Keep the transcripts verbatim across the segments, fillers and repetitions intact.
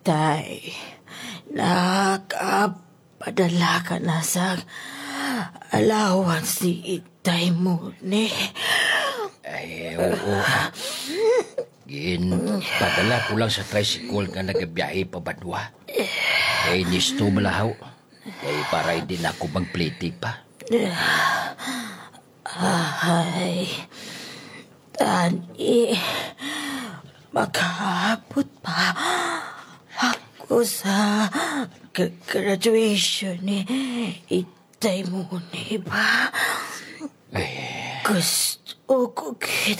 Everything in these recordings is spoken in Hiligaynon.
Tay, nakapadala ka na sa allowance ni Itay Muni. Ay, oo. Ginpadala ko lang sa tricycle nga nagabiyahe pa Banwa. Kay nisto malahaw. Kay para hindi na ako magpliti pa. Ay, tani, makaabot pa ako sa g-, graduation ni Itay Muni ba? Ay. Gusto ko gid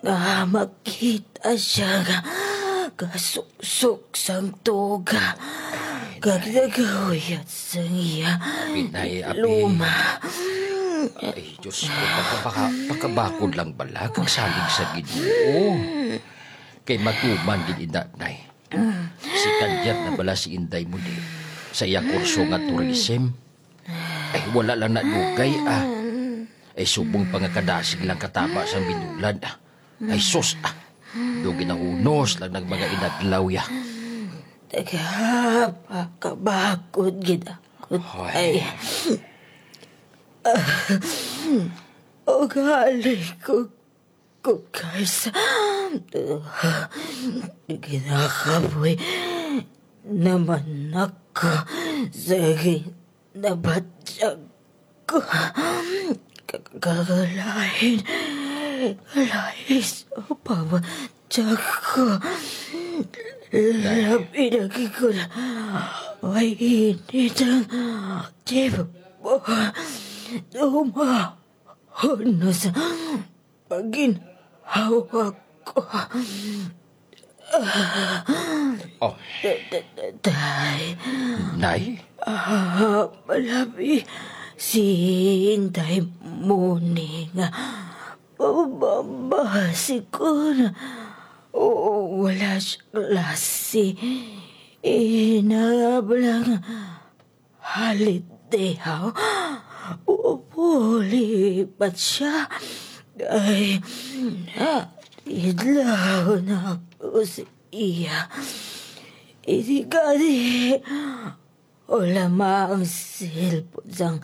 nga makita siya nga gasuksok sang tuga, kag nagahuyat sang iya Pinay, apin. Luma. Ay, Diyos ko, pakabaka-, pakabakod lang bala kag salig sa Ginoo. Kay matuman gid ina, Nay. Second year na bala si Inday Muni sa iya kurso nga tourism. Ay, wala lang nadugay, ah. Ay, subong pa nga kadasig lang kataba sang binulad, ah. Ay, sus, ah. Daw ginahunos lang ng mga inadlaw, ya. Taga, pakabakod gid ako, Hoy. Ay. Ugali ko, ko, guys. Ginakapoy naman ako sa gin-, nabatyag ko. Ka-, kagalahin. Lahi sa pabatyag ko. Labi lagi ko na may init ang tibo. Dumahunos ang paginhawa ko. Oh. Tay. Nay? Ah, malabi si Inday Muni nga mababasi ko na. O, wala siya klase. Inablang holiday, ha? Puli pa siya. Ay, naidlaw na ako sa iya. Ini gani, wala ma ang cellphone sang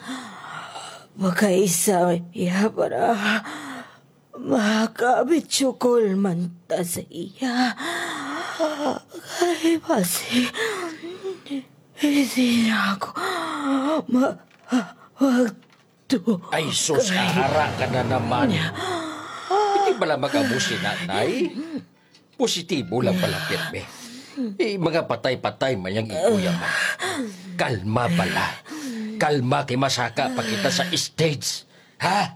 makaisa iya para makabitsukol man ta sa iya. Kay basi, hindi na ako ma-, magtuo. Ay, sus, kay ara ka na naman. Hindi bala mag-amo si nanay? Positibo lang pala, pirme. Eh, mga patay-patay man yang ikuya man. Kalma bala. Kalma kay masaka pa kita sa stage. Ha?